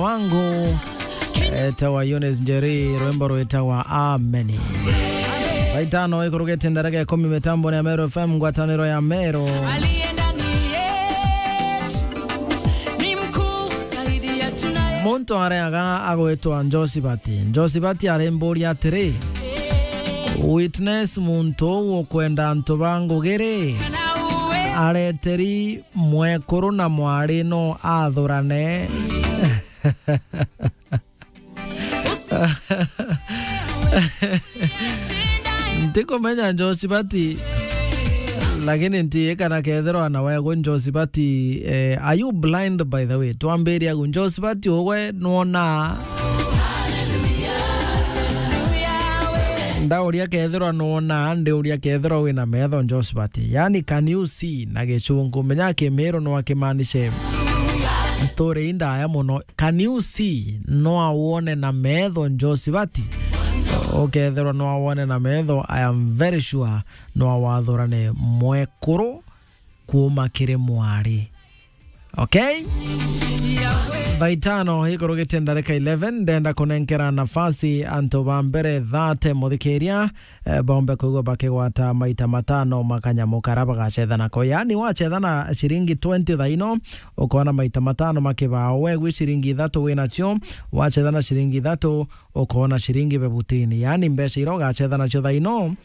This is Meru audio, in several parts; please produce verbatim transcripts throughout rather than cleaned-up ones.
wangu, etagwa Eunice Njeri, rwimbo rwitagwa Ameni. Thaa itano ikurugite ndareka ikumi mitamboni ya Meru F M, ngwataniro ya Meru. Aliye ndani yetu ni mkuu zaidi ya tunaye. Muntu areaga agwitwa Njosibati. Njosibati arimburia atiri, "Witness muntu uu ukwenda antu ba ngugi ri?" Areteri mwekuru na mwari no athurane. Ntikumenya Njosibati, lakini ntiĩ kana kethirwa na wegu Njosibati, eh, are you blind by the way? Twambiria gu, Njosibati ugwe nwonaa? Ndauria kethirwa nwonaa, ndiuria kethirwa wina metho Njosibati. Yani, can you see na Gichungu? Menya Kimiru no akimaanishe. Story ii ndaya muno. Can you see? No awone na metho Njosibati? Ukethirwa no awone na metho, I am very sure no awathurane mwekuru kuuma kiri mwari. Okay? Thaa itano ikurugite ndarika eleven, ndenda kunenkera nafasi antu ba mbere thate muthikiria, eh, bombe kwigua bakigwata maita matano ma kanyamu kara bagacethana ko. Yani, wacethana ciringi twenty thaa ino, ukona maita matano ma kibao. Wegwi ciringi ithatu winacio, wacethana ciringi ithatu, ukona ciringi bebutini. Yani, mbeca iria ugacethana cio thaa ino,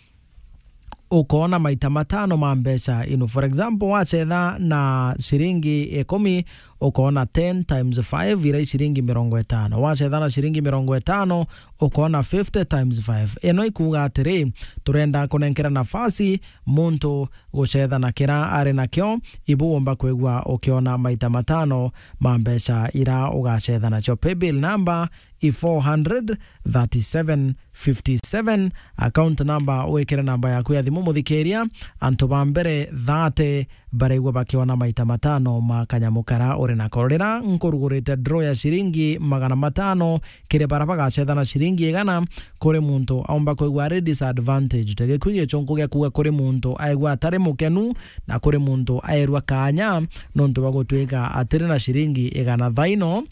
ukona maita matano ma mbeca ino. For example, wacetha na ciringi ikumi, ukona ten times five, iria i ciringi mirongo itano. Wacetha na ciringi mirongo itano, ukona fifty times five. Ino ikuuga atiri, turenda kunenkera nafasi muntu gucetha na kira ari nakio, ibu womba kwigua ukiona maita matano ma mbeca ira ugacetha nacio. Paybill number i four hundred thirty-seven fifty-seven. Account number, wikire namba yaku ya thimu, muthikiria. Antu ba mbere thate baraigua bakiona maita matano ma kanyamu kara uri nako. Rira nkurugurite draw ya ciringi magana matano kiri bara bagacetha na ciringi igana, kuri muntu aumba kwigua ari disadvantaged. Gikui gichunku gia kuuga kuri muntu aigua atari mukenu, na kuri muntu aerua kaanya nontu bwa gutwika atiri na ciringi igana. Thaa ino,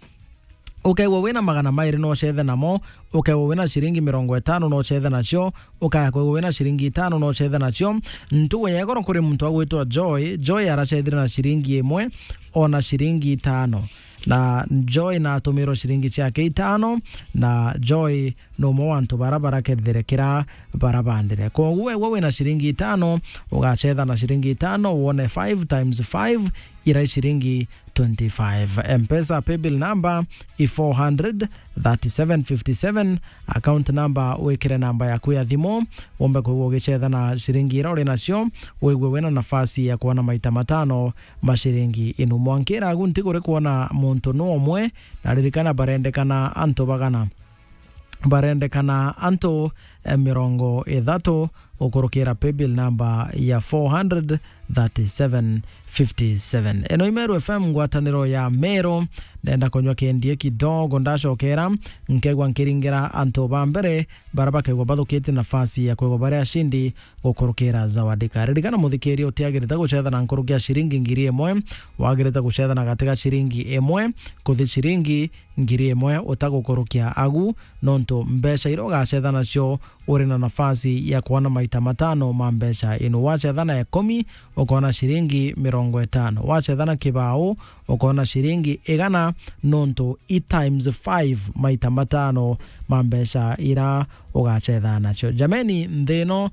ukaigua wina magana mairi no ucethe namo, ukaigua wina ciringi mirongo itano no ucethe nacio, ukaigua wina ciringi itano no ucethe nacio. Ntugu ya igoro kuri muntu agwitwa Joy. Joy aracethire na ciringi imwe, ona ciringi itano. Na Joy natumirwe ciringi ciake itano, na Joy no umwe wa antu bara barakethire kira bara bandire. Koguo wegwe wina ciringi itano, ugacetha na ciringi itano, wone five times five, ira i ciringi twenty-five. M-Pesa paybill number i four hundred thirty-seven fifty-seven, account number, wikire namba yaku ya thimu, wombe kwigua ugicetha na ciringi ira uri nacio, wigue wina nafasi ya kuona maita matano ma ciringi inu. Mwankira agu ntiguri kuona muntu no umwe, na ririkana barendekana antu bagana. Barendekana antu, eh, mirongo ithatu ukurukira paybill number ya four hundred thirty-seven fifty-seven. Ino i Meru F M, ngwataniro ya Meru. Ndenda kunywa kindie kidogo, ndacokera nkegwa nkiringira antu ba mbere bara bakegwa bathukite nafasi ya kwegwa bari ashindi gukurukira Zawadi Card. Ririkana muthikiria, utiagirite gucetha na nkuruki ya ciringi ngiri imwe, wagirite gucetha na gati ga ciringi imwe kuthi ciringi ngiri imwe utagukurukia agu, nontu mbeca iria ugacetha nacio uri na nafasi ya kuona maita matano ma mbeca inu. Wacetha na ikumi, ukona ciringi mirongo itano. Wacetha na kibao, ukona ciringi igana, nontu i times five, maita matano ma mbeca ira ugacetha nacio. Jameni, nthi ino